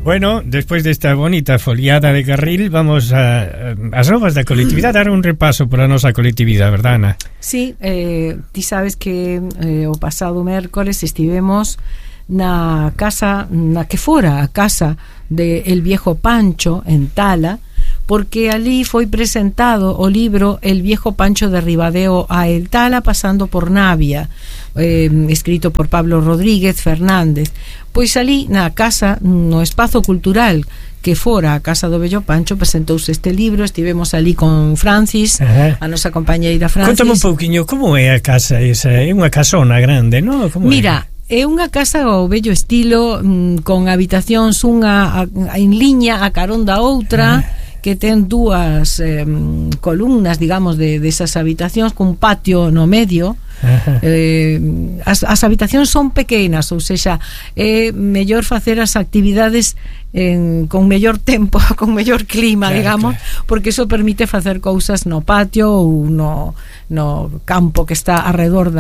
Bueno, despois desta bonita foliada de carril, vamos as novas da colectividade, dar un repaso pola nosa colectividade, verdad, Ana? Sí, ti sabes que o pasado mércores estivemos na casa, na que fora a casa de El Viejo Pancho en Tala, porque ali foi presentado o libro El Viejo Pancho de Ribadeo a El Tala pasando por Navia, escrito por Pablo Rodríguez Fernández. Pois ali na casa, no espazo cultural que fora a casa do Vello Pancho, presentouse este libro. Estivemos ali con Francis, a nosa compañeira Francis. Contame un pouquiño, como é a casa esa? É unha casona grande, non? Mira, é unha casa ao vello estilo, con habitacións unha en liña a carón da outra, que ten dúas columnas, digamos, de esas habitacións, cun patio no medio. As habitacións son pequenas, ou seja, é mellor facer as actividades con mellor tempo, con mellor clima, digamos, porque iso permite facer cousas no patio ou no campo que está alrededor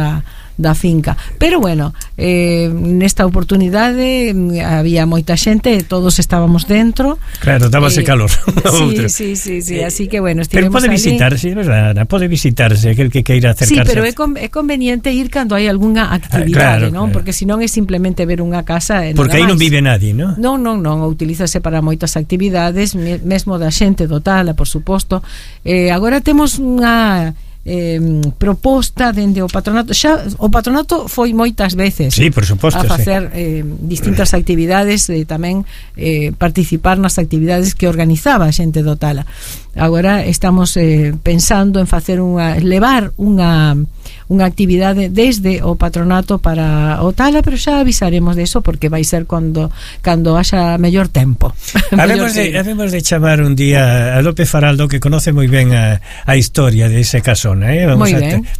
da finca. Pero bueno, nesta oportunidade había moita xente, todos estábamos dentro. Claro, dábase calor. Sí, así que bueno, estivemos. pero pode visitarse, verdad? Pode visitarse aquel que queira acercarse. Sí, pero é conveniente ir cando hai algunha actividade, non? Porque senón é simplemente ver unha casa e porque aí non vive nadie, non? Non, utilízase para moitas actividades, mesmo da xente do Tala, por suposto. Agora temos unha proposta dende o patronato. Xa o patronato foi moitas veces, sí, por suposto, a facer distintas actividades, tamén participar nas actividades que organizaba a xente do Tala. Agora estamos pensando en facer levar unha actividade desde o patronato para o Tala, pero xa avisaremos de eso, porque vai ser cando haxa mellor tempo. Habemos de chamar un día a López Faraldo, que conoce moi ben a historia de ese casona, vamos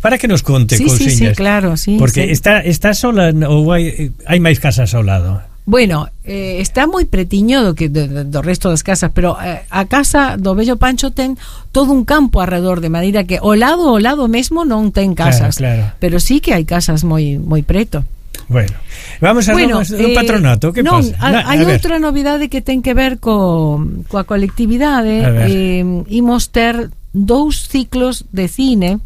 para que nos conte cousiñas. Sí, claro, sí. Porque sí. Está sola ou hai máis casas ao lado? Bueno, está moi pretiño do resto das casas, pero a casa do Vello Pancho ten todo un campo alrededor, de maneira que ao lado mesmo non ten casas, claro. Pero sí que hai casas moi preto. Bueno, vamos a do patronato. Que non, pasa? Hai outra novidade que ten que ver coa colectividade. Imos ter 2 ciclos de cine.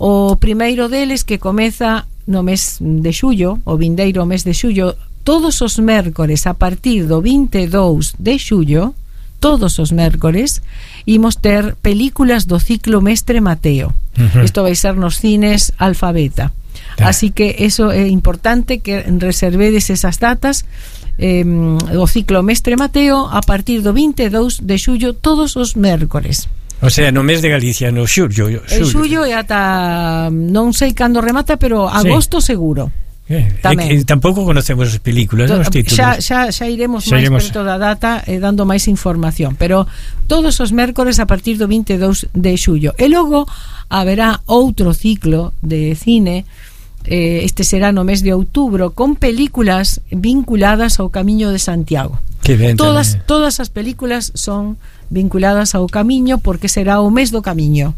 O primeiro deles, que comeza no mes de xullo, o vindeiro mes de xullo, todos os mércores a partir do 22 de xullo, todos os mércores imos ter películas do ciclo Mestre Mateo. Isto vai ser nos cines Alfabeta. Así que eso é importante, que reservedes esas datas. O ciclo Mestre Mateo a partir do 22 de xullo, todos os mércores. O sea, no mes de Galicia, no xullo. Xullo e ata non sei cando remata, pero agosto seguro. Tampouco conocemos as películas, os títulos. Xa iremos máis perto da data, dando máis información, pero todos os mércores a partir do 22 de xullo. E logo haberá outro ciclo de cine, este será no mes de outubro, con películas vinculadas ao Camiño de Santiago. Todas as películas son vinculadas ao Camiño, porque será o mes do Camiño.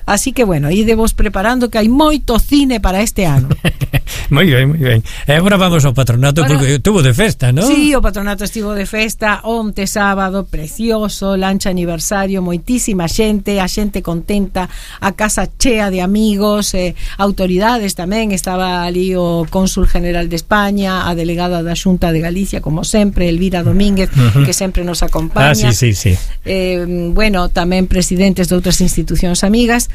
Así que bueno, idevos preparando, que hai moito cine para este ano. Moi ben. E agora vamos ao patronato, porque estuvo de festa, non? Sí, o patronato estivo de festa onte sábado, precioso, lancha aniversario, moitísima xente, a xente contenta, a casa chea de amigos, autoridades tamén. Estaba ali o cónsul general de España, a delegada da Xunta de Galicia, como sempre, Elvira Domínguez, que sempre nos acompaña. Sí. Bueno, tamén presidentes de outras institucións amigas,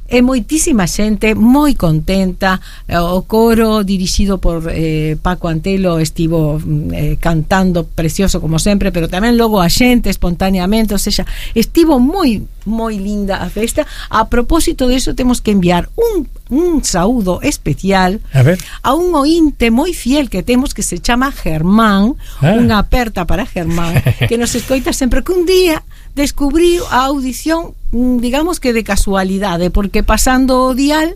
e moitísima xente moi contenta. O coro dirixido por Paco Antelo estivo cantando precioso como sempre, pero tamén logo a xente espontaneamente, ou seja, estivo moi linda a festa. A propósito de eso, temos que enviar un saúdo especial a un ointe moi fiel que temos, que se chama Germán. Unha aperta para Germán, que nos escoita sempre, que un día descubriu a audición, digamos que de casualidade, porque pasando o dial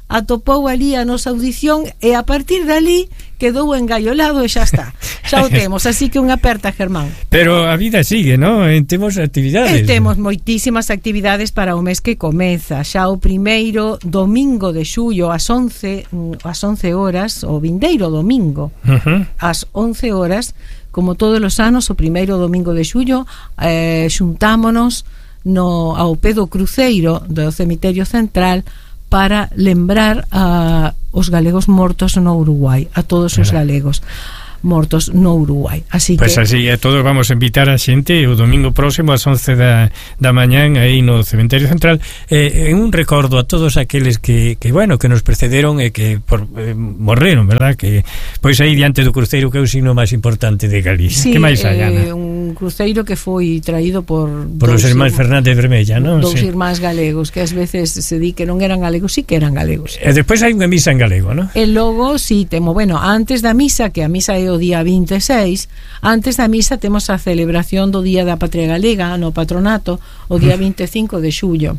atopou ali a nosa audición, e a partir dali quedou engaiolado e xa está, xa o temos. Así que unha aperta, Germán. Pero a vida sigue, non? Temos actividades. Temos moitísimas actividades para o mes que comeza. Xa o primeiro domingo de xullo ás 11 horas, o vindeiro domingo ás 11 horas, como todos os anos, o primeiro domingo de xullo, xuntámonos ao pé do cruceiro do cemiterio central para lembrar a os galegos mortos no Uruguai, a todos os galegos mortos no Uruguai. Así pues que así a todos vamos a invitar a xente o domingo próximo ás 11 da mañán aí no Cementerio Central, un recordo a todos aqueles que bueno, que nos precederon e que morreron, verdad? Que pois aí diante do cruceiro, que é o signo máis importante de Galicia. Sí, que máis hai, Ana? Un cruceiro que foi traído por os irmáns Fernández Vermella, non? Dous irmáns galegos, que ás veces se di que non eran galegos, sí que eran galegos. E despois hai unha misa en galego, non? E logo, sí, antes da misa, que a misa é o día 26, antes da misa temos a celebración do Día da Patria Galega no patronato, o día 25 de xullo.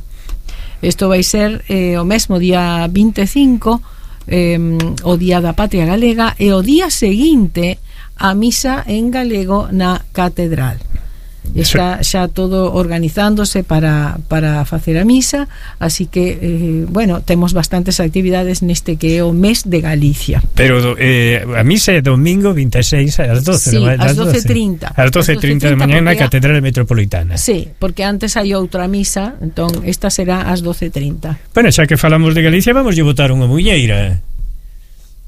Isto vai ser o mesmo día 25, o Día da Patria Galega, e o día seguinte a misa en galego na catedral. Está xa todo organizándose para facer a misa, así que bueno, temos bastantes actividades neste que é o mes de Galicia. Pero a misa é domingo 26 ás 12, sí, ás 12:30. Ás 12:30 de mañá na Catedral Metropolitana. Sí, porque antes hai outra misa, entón esta será ás 12:30. Bueno, xa que falamos de Galicia, vamos a botar unha muñeira.